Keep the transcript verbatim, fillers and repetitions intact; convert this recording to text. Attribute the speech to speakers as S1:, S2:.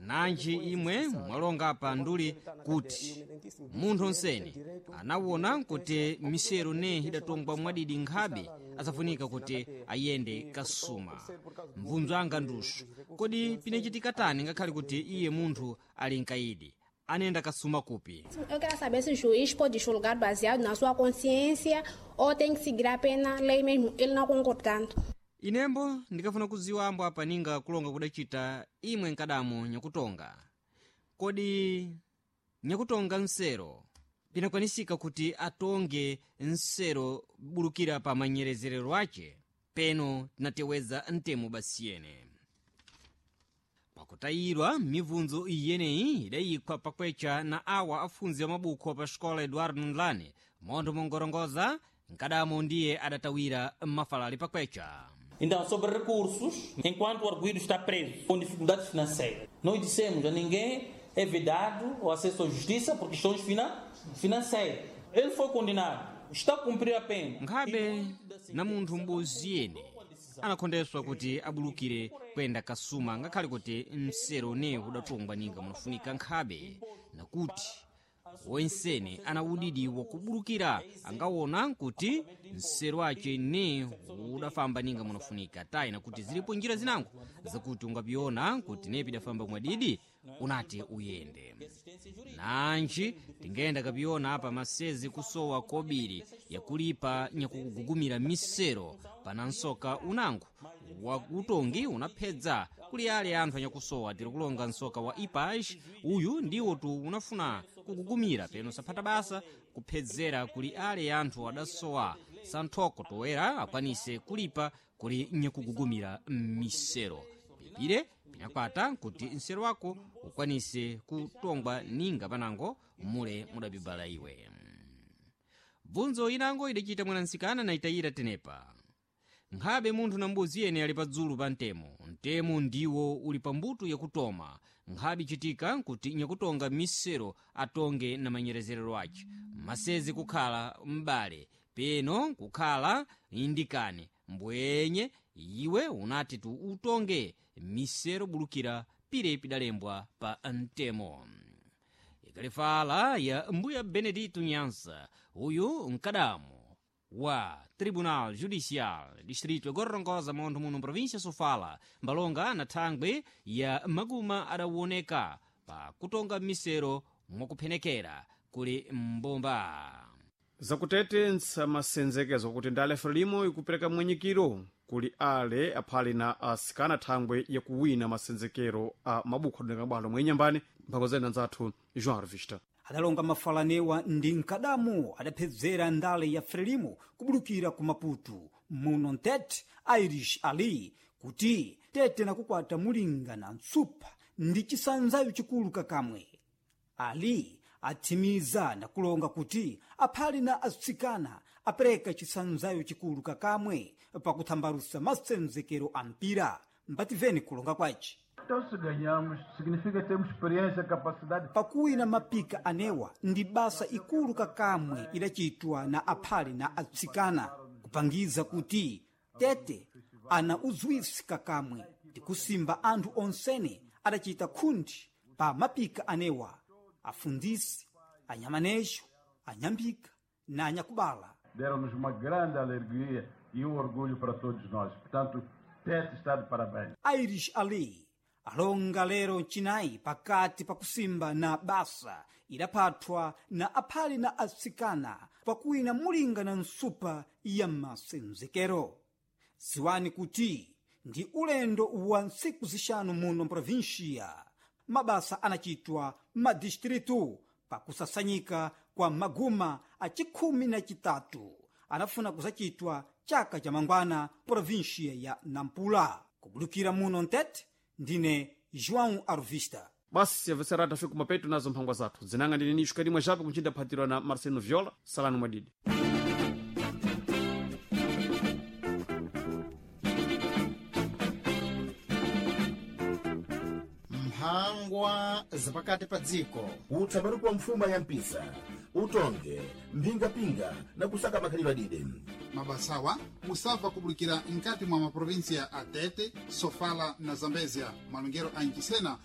S1: Nanji imwe mwalonga pa nduli kuti munthu onsene anawona kuti misero ne idatongwa mwadidi nkhabe asafunika kuti ayende kasuma. Mvunzo anga ndusu, kodi pinachitika tani ngakhale kuti iye munthu ali mkaidi anenda kasuma kupi?
S2: Eu quero saber se o juiz pode julgar baseado na sua consciência ou tem que seguir a pena lei mesmo, ele não concordando.
S1: Inembo ndikafuna kudziwa ambo apa ninga kulonga kudacita imwe nkadamo nyakutonga. Kodi nyakutonga nsero pinakwanisika kuti atonge nsero bulukira pa manyerezerero ace? Peno tinateweza mtemo basiyene. Pakutayirwa mibvunzo iyeneyi idayikwa pakwecha na awa afunzi wa mabukho pa xikola Eduardo Ndlane montho mongorongoza nkadamo ndiye adatawira mafalali pakwecha.
S3: Então, sobre recursos, enquanto o arguido está preso com dificuldades financeiras, nós dissemos a ninguém é vedado o acesso à justiça por questões fina financeiras. Ele foi condenado, está a cumprir a pena.
S1: Nkhabe na munthu m'bodzi yene anakhondeswa kuti abulukire kuyenda kasuma ngakhale kuti msero ne udatongwa ninga munafunika nkhabe nakuti wensene ana udidi wakubulukira angawona kuti msero ace ne udafamba ninga munafunika tayi nakuti zilipo njira zinango zakuti ungapiona kuti ne pidafamba mwadidi unati uyende. Nanji tingenda kapiona apa masezi kusowa kobiri yakulipa nyakugugumira misero pana nsoka unango wa utongi unaphedza kuli ale anthu anyakusowa. Tiri kulonga nsoka wa ipaj uyu ndiwo tu unafuna kugugumira peno saphata basa kuphedzera kuli ale anthu adasowa santhoko toera akwanise kulipa kuli nyakugugumira misero. Pipire pinakwata kuti msero wako ukwanise kutongwa ninga panango mule mudabibala iwe. Bvunzo inango idachita mwanansikana na itayira tenepa. Nkhabe munthu na mbuzi yene ali padzulu pa mtemo. Mtemo ndiwo uli pa mbuto yakutoma. Nkhabe ichitika kuti nyakutonga misero atonge na manyerezerero ace. Masezi kukhala m'bale, peno kukhala indikane. Mbwenye iwe unati tu utonge misero bulukira pire pidalembwa pa mtemo. Ikalifala ya mbuya Benedito Nyansa, uyu mkadamo wa Tribunal Judicial Distrito Gorongosa montho muno província Sofala mbalonga na thangwe ya maguma adawoneka pa kutonga misero mwakuphenekera kuli mbomba.
S4: Zakutete nsamasendzekezo kuti ndale Frelimo ikupereka mwenyekero kuli ale aphali na asikana thangwe yakuwina masenzekero a mabukho adoneka bwalo mwenyambani mphakozena nzathu João Revista.
S5: Adalonga mafalanewa ndi mkadamu adaphedzera ndale ya Frelimo kubulukira ku Maputo muno Ntete Irish Ali kuti tete nakukwata mulinga na ntsupha ndi chisanzayo chikulu kakamwe. Ali atsimiza nakulonga kuti aphali na atsikana apereka chisanzayo chikulu kakamwe pakuthambalusa masenzekero a mpira. Mbativeni kulonga kwaci.
S6: Então, se ganhamos, significa termos experiência, capacidade.
S5: Pakuwina mapika anewa ndi basa ikulu kakamwe idachitwa na aphali na atsikana kupangiza kuti tete ana uzwisi kakamwe ndikusimba anthu onsene adachita khundi pa mapika anewa afundisi, anyamanejo, anyambika na anyakubala.
S6: Deram-nos uma grande alegria e um orgulho para todos nós. Portanto, Tete está de parabéns.
S5: Irish Ali alonga lero mchinayi pakati pakusimba na basa idaphathwa na aphali na atsikana pakuwina mulinga na nsupa ya masenzekero. Ziwani kuti ndi ulendo wa ntsiku zixanu muno mprovinsia mabasa anachitwa madistritu pakusasanyika kwa maguma a chikhumi na chitatu anafuna kusachitwa chaka cha mangwana provinsia ya Nampula. Kubulukira muno Ntete, ndine João Arvista.
S4: Basi yavesera tafika kumapeto nazo mphangwa zathu zinanga ndine nixo kalimwe jape kunchinda phatirwa na Marcelo Viola. Salani mwadidi.
S7: Mphangwa zapakati pa dziko.
S8: Utsamani kwa mfuma ya mpisa utonge mphingapinga na kusaka makhalidwe adide.
S9: Mabasawa musabva kubulikira nkati mwa maprovinsia a Tete, Sofala na Zambezia, malongero a Nchisena.